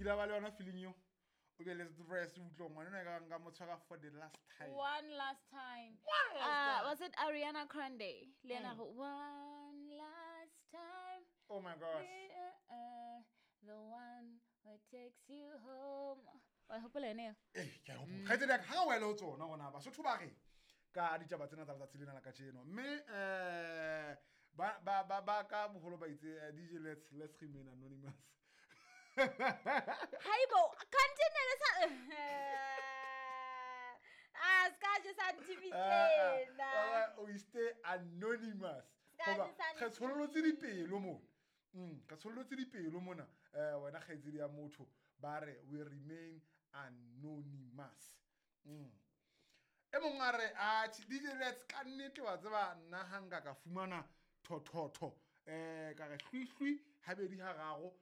Ile ba le yona feeling eo, o be le stress, o utlwe ngwana ena ka nka mo tshwara for the last time. One last time. One last time. Was it Ariana Grande? Le yena go one last time. Oh my gosh. The one who takes you home. Wa hopola yone eo? Ee, ke a hopola. Kgaitsedi ya ka, ha wele ho tsona gona Basotho ba re ka ditaba tsena tsa letsatsi lena la kajeno, mme ba ka boholo ba itse, DJ, let's remain anonymous. Haibo, continue le sa Ah, ska je sa ntibitlena. O stay anonymous. Ska Hoba je sa re tshollotse dipelo mona. Re tshollotse dipelo mona. Wena kgaitsedi ya motho, ba re we remain anonymous. E mong a re, atjhe, DJ Let's, ka nnete wa tseba nna ha nka ka fumana thotho, ka re hlwi hlwi habedi hararo,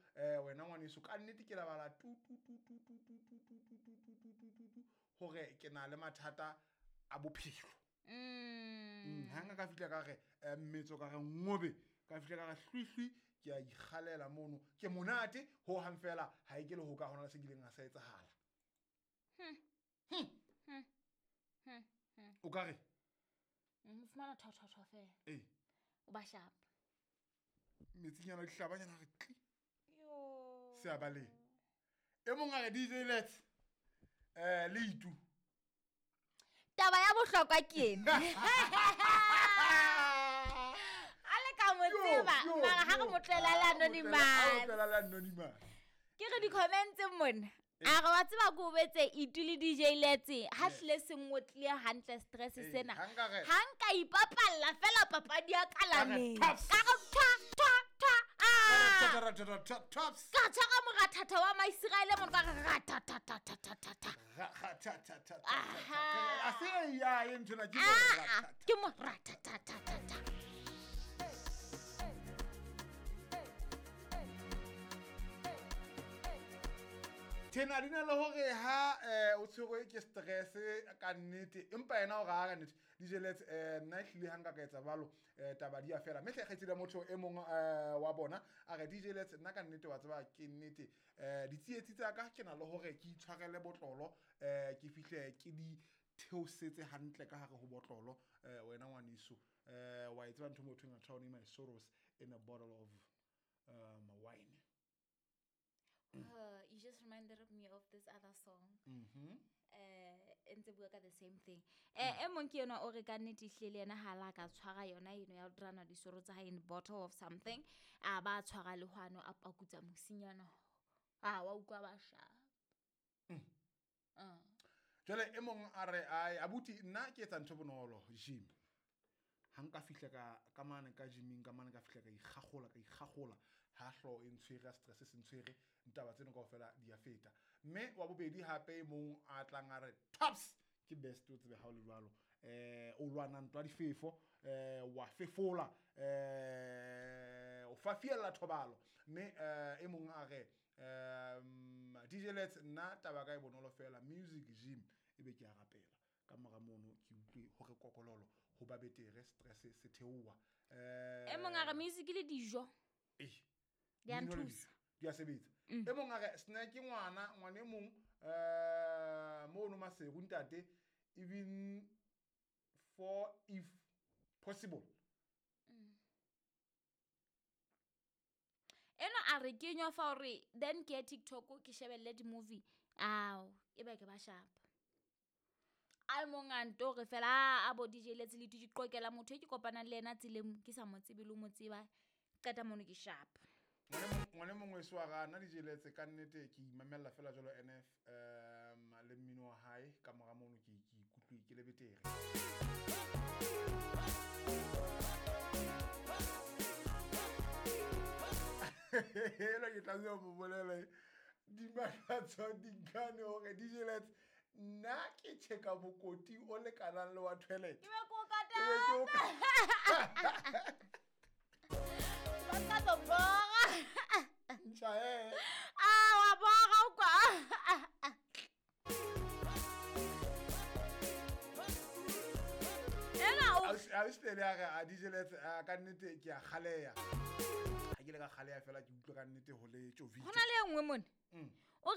wena ngwaneso, ka nnete ke lebala tu tu tu tu tu tu tu tu tu tu tu tu tu tu tu, hore ke na le mathata a bophelo. Ha nka ka fihla ka re, mmetso ka re ngobe, ka fihla ka re hlwi hlwi, ke a ikgalela mono, ke monate ho hang fela, ha e ke le ho ka hona le se kileng ha sa etsahala. O ka re? O fumana thotho fela. Ee. O ba sharp. Metsinyana dihlabanyana re tli. Yo. Se a bale. E mong a re DJ Let's, le itu. Taba ya bohlokwa ke ena. A le ka mo tseba, mara ha re mo tlohela le anonymous. Ha re mo tlohela le anonymous. Ke re di-comments mona. A re wa tseba ko betse itu le DJ Let's, ha hlile se ngotlile hantle stress sena. Ha nka re- Ha nka ipapalla fela papadi ya Ka re kalaneng. tops. Ka re twa, twa, twa, ah! Ka re twa, twa, twa, twa, tops. Ka tshwara morathatha wa Maiseraele mona, ka re rathathathathathatha. Ra, ra, tha, tha, tha, tha, tha, tha. Aha. A se e ya e nthwena, ke mo Ah, rathatha. ke morathathathathatha. Thena di na le hore ha, o tshwerwe ke stress ka nnete, empa yena o re ha ka nnete, DJ Let's, nna ehlile ha nka ka etsa jwalo, taba di a fela. Mme hle kgaitsedi ya motho e mong, wa bona, a re DJ Let's, nna ka nnete wa tseba ke nnete, ditsietsi tsa ka ke na le hore ke itshwarele botlolo, ke fihle ke di theosetse hantle ka hare ho botlolo, wena ngwaneso, wa e tseba ntho mo thweng a drowning my sorrows in a bottle of wine. You just reminded me of this other song. Ntse bua ka the same thing. E mong ke yona o re ka nnete ehlile le yena ha la ka tshwara yona eno ya ho drana disoro tsa hae in bottle of something, a ba tshwara le hwano a pakutsa mosinyana. A wa utlwa ba sharp. Jwale e mong a re, ai, abuti, nna ke etsa ntho bonolo, gym. Ha nka fihla ka mane ka gyming, ka mane ka fihla ka ikgagola, ka ikgagola, ha hlooho e ntshwere, ha stress se ntshwere, ntaba tseno kaofela di a feta. Mme wa bobedi hape e mong a tlang a re, tops, ke best o tsebe ha o le jwalo. O lwana ntwa difefo, wa fefola, o fafiella thobalo. Mme, e mong a re, DJ Let's, nna taba ka e bonolo fela, music gym, ebe ke a rapela. Ka mora mono ke utlwe hore kokololo ho ba betere, stress se theoha. E mong a re music le dijo. Eh. Di a Mmino le nthusa. dijo, di a sebetsa. E mong a re snack ke ngwana, ngwana e mong, mono Maseru ntate, even for if possible. Eno a re kenywa fa hore then ke ya TikTok ke shebelle di-movie. Ao, e be ke ba sharp. A mong a nto re fela, a bo DJ Let's le di qoqela motho e ke kopanang le yena tseleng, ke sa mo tsebe le ho mo tseba, qeta mono ke sharp. Ngwane mongwe so a ra, nna DJ Let's ka nnete ke imamella fela jwalo NF, le mmino wa hae, ka mora mono ke ikutlwe ke le betere. Ena ke tlameha ho mo bolela, dimakatso dinkane hore DJ Let's, nna ke checka mokoti o lekanang le wa toilet. Ke be ke o Ke be ke o katana. Ba ka tlo bora. Ntjha, eh. Ah, wa bora o kwa. Ena o Ausi le a re, a DJ Let's, a ka nnete ke a kgaleha. Ha ke le ka kgaleha fela ke utlwa ka nnete ho le tjovitse. Ho na le e nngwe mona.